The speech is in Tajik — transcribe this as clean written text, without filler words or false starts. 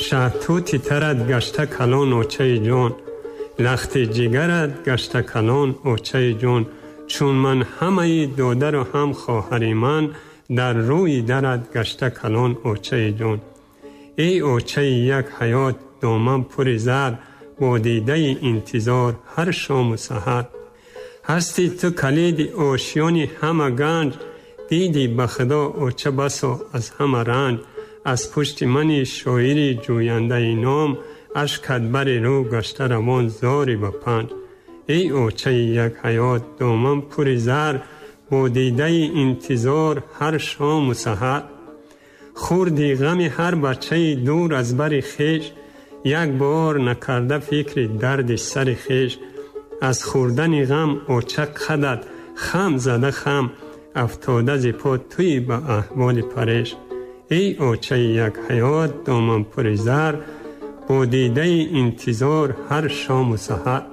Шаҳтути тарат гашта калон, очаи ҷон, лахти ҷигарат гашта калон, очаи ҷон. Чун ман ҳамаи додару ҳам хоҳари ман дар рӯи дарат гашта калон, очаи ҷон. Эй очаи як ҳаёт, доман пури зар, бо дидаи интизор ҳар шому саҳар. Ҳасти ту калиди ошёни ҳама ганҷ, диди ба худо оча басо аз ҳама ранҷ. Аз пушти мани шоири ҷӯяндаи ном, ашкат бари рӯ гашта равон зори ба панҷ. Эй очаи як ҳаёт, доман пури зар, бо дидаи интизор ҳар шому саҳар. Хурди ғами ҳар бачаи дур аз бари хеш, як бор накарда фикри дарди сари хеш. Аз хӯрдани ғам оча қадат хам зада хам, афтода зи по туи ба аҳволи пареш. Эй очаи як ҳаёт, доман пури зар, бо дидаи интизор ҳар шому саҳар.